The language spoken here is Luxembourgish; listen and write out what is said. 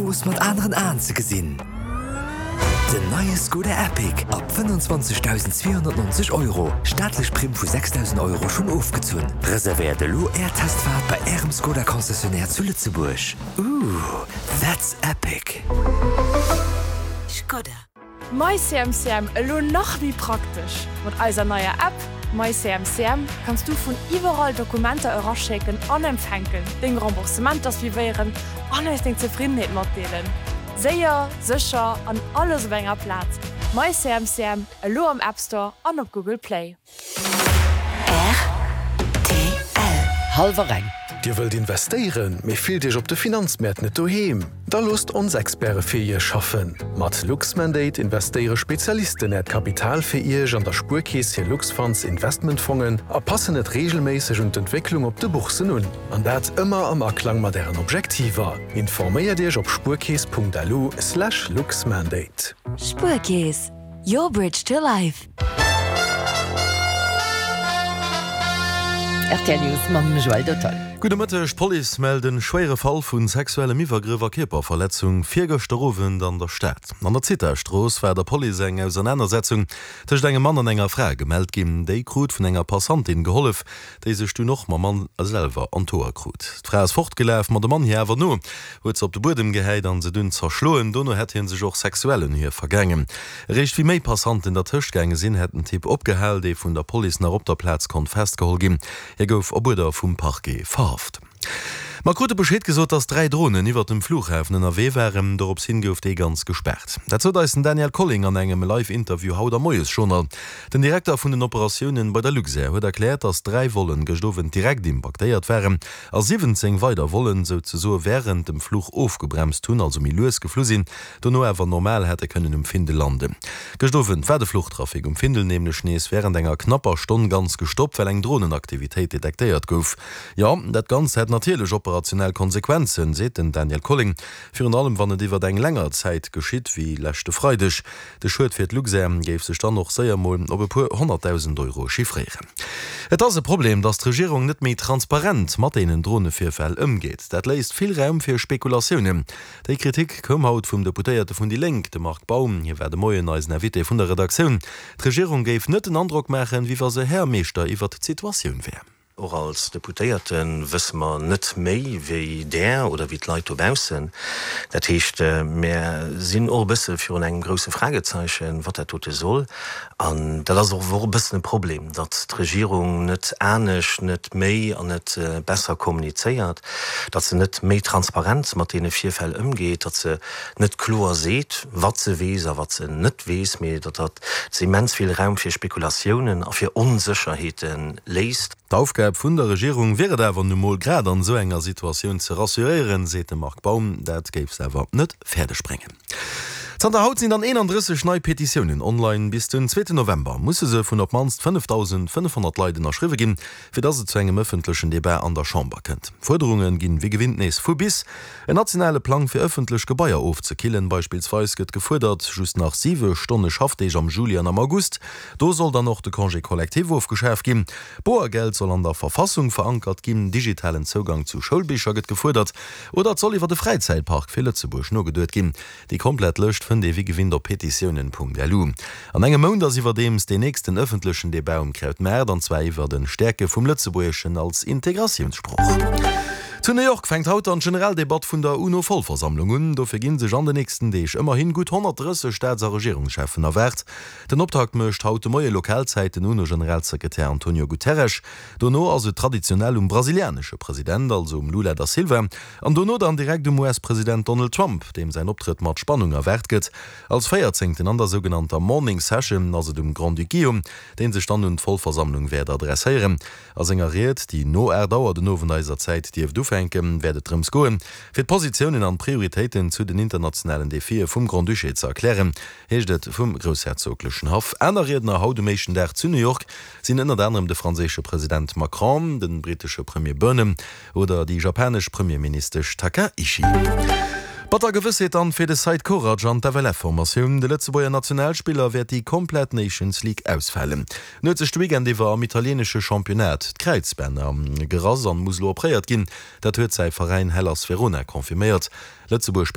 Strooss mat aneren Aen ze gesinn. Den neie Skoda Epiq ab 25.290 Euro, staatlech Primm vu 6.000 Euro schonn ofgezunn. Reservéiert elo Är Testfaart bei Ärem Skoda Concessionnaire zu Lëtzebuerg. Ooh, that's epic! Skoda. MyCMCM elo nach méi praktesch! Mat eiser neier App MyCMCM kanns du vun iwwerall Dokumenter eraschécken an empfänken, deng Remboursementer suivéieren an eis deng Zefriddenheet matdeelen. Séier, sécher an alles op enger Plaz. MyCMCM elo am App Store an op Google Play. Rtl. Hallwer eng. Dir wëllt investéieren, mee fillt Iech op de Finanzmäert net doheem? Da loosst ons Experte fir Iech schaffen! Mat Luxmandate investéiere Spezialisten Äert Kapital fir Iech an der Spuerkeess hir Luxfunds Investmentfongen a passen et reegelméisseg un d'Entwécklung op de Boursen un. An dat ëmmer am Aklang mat Ären Objektiver. Informéiert Iech op spuerkeess.lu/luxmandate. Spuerkeess, your bridge to life. Rtl News mam Joël Dotton. Gudde Mëtteg, D'Police mellt en schwéiere Fall vu sexuellem Iwwergrëff a Kierperverletzung virgëschter Owend an der Stad. An der Zithastrooss war der Police eng Ausernanersetzung tëscht engem Mann an enger Fra gemellt ginn. Déi krut vun enger Passantin gehollef, déi sech dunn och mam Mann selwer an d'Hoer krut. D'Fra ass fortgelaf, ma de Mann hir awer no, huet se op de Buedem gehäit an se dunn zerschloen. Dono hätt hie sech och sexuell un hir vergaangen. Eréischt wéi méi Passanten dertëscht gaange sinn, hätt den Typ opgehal, dee vun der Police nach op der Plaz konnt festgeholl ginn. Hie gouf op Uerder vum Parquet verhaft. Mer krute Bescheed gesot, dass 3 Dronen iwwert dem Flughafen ënnerwee waren. Dorops hin gouf dee ganz gespaart. Dat sot eis den Daniel Colling an engem Live-Interview haut am Moiesjournal. Den Direkter vun den Operatiounen bei der Luxair huet erkläert, dass 3 Vollen gëscht Owend direkt impaktéiert waren a 17 weider Vollen souzesoe wärend dem Fluch ofgebremst hunn, also méi lues geflu sinn, dono awer normal hätte kënnen um Findel landen. Gëscht Owend war de Fluchtrafic um Findel nämlech nees wärend enger knapper Stonn ganz gestoppt, well eng Dronenaktivitéit detektéiert gouf. Jo, dat Ganzt hätt natierlech operationell Konsequenzen, seet den Daniel Colling. Virun allem wann et iwwert eng länger Zäit geschitt, wéi leschte Freideg. De Schued fir d'Luxair géif sech dann och séier mol op e puer 100.000 Euro chiffréieren. Et ass e Problem, datt d'Regierung net méi transparent mat deenen Dronevirfäll ëmgeet. Dat léisst vill Raum fir Spekulatiounen. Déi Kritik koum haut vum Deputéierte vun déi Lénk, de Marc Baum. Hie war de Moien eisen Invité vun der Redaktioun. D'Regierung géif net den Androck maachen, wéi wa se Här a Meeschter iwwert d'Situatioun wär. Och als Deputéierte wësse mer net méi wéi Der oder wéi d'Leit dobaussen. Dat heescht, mär sinn och e bësse virun engem grousse Fragezeichen, wat dat dote soll. An dat ass och e bëssen e Problem, datt d'Regierung net anescht, net méi an net besser kommunizéiert, datt se net méi transparent mat deene Virfäll ëmgeet, datt se net kloer seet, wat se weess a wat se net weess, mee datt se immens vill Raum fir Spekulatiounen a fir Onsécherheete léisst. D'Aufgab vun der Regierung wier et awer nu mol grad an esou enger Situatioun ze rassuréieren, seet de Marc Baum. Dat géif se awer net fäerdeg bréngen. Zanter haut sinn dann 31 nei Petitiounen online. Bis den zweeten November musse se vun op d'mannst 5.500 Leit ënnerschriwwe ginn, fir datt et zu engem ëffentlechen Debat an der Chamber kënnt. D'Fuerderunge ginn wéi gewinnt nees vu bis. En nationale Plang fir ëffentlech Gebaier ofzekillen beispillsweis gëtt gefuerdert, just nach siwe Stonne Schaffdeeg am Juli an am August. Do soll dann och de Congé collectif ofgeschaf ginn. Boergeld soll an der Verfassung verankert ginn, digitalen Zougang zu Schoulbicher gëtt gefuerdert oder et soll iwwer e Fräizäitpark fir Lëtzebuerg nogeduet ginn. Déi komplett Lëscht fënnt ee wéi gewinnt op petitiounen.lu. An engem Mount ass iwwerdeems deen nächsten ëffentlechen Debat um Krautmaart, an zwar iwwer en Stäerke vum Lëtzebuergeschen als Integratiounssprooch. Zu New York fänkt haut dann d'Generaldebatt vun der UNO-Vollversammlung un. Dofir gi sech an den nächsten Deeg ëmmerhin gutt 130 Staats a Regierungscheffen erwaart. Den Optakt mécht haut de Moie Lokalzäit den UNO-Generalsekretär Antonio Guterres. Dono ass et traditionell um brasilianesche President, also um Lula da Silva, An dono dann direkt um US-President Donald Trump, deem säin Optrëtt mat Spannung erwaart gëtt. Als Véierzéngten an der sougenannter Morning Session ass et um Grand-Duc Guillaume, dee sech dann un d'Vollversammlung wäert adresséieren. A senger Ried, déi no 8 Auer den Owend eiser Zäit dierft ufänken, wäert et drëms goen, fir d'Positiounen an d'Prioritéiten zu den internationalen Defie vum Grand-Duché ze erklären, heescht et vum groussherzoglechen Haff. Aner Riedner haut um éischten Dag zu New York sinn ënnert anerem de franséische President Macron, de brittesche Premier Burnham, Oder déi japanesch Premierministesch Takaichi. Batter Gewëssheet dann fir de Seid Korac an d'FLF-Formatioun. De Lëtzebuerger Nationalspiller wäert déi komplett Nations League ausfalen. En huet sech de Weekend iwwer am italieenesche Championnat d'Kräizbänner gerass an muss elo opréiert ginn. Dat huet säi Veräin Hellas Verona confirméiert. Lëtzebuerg spillt.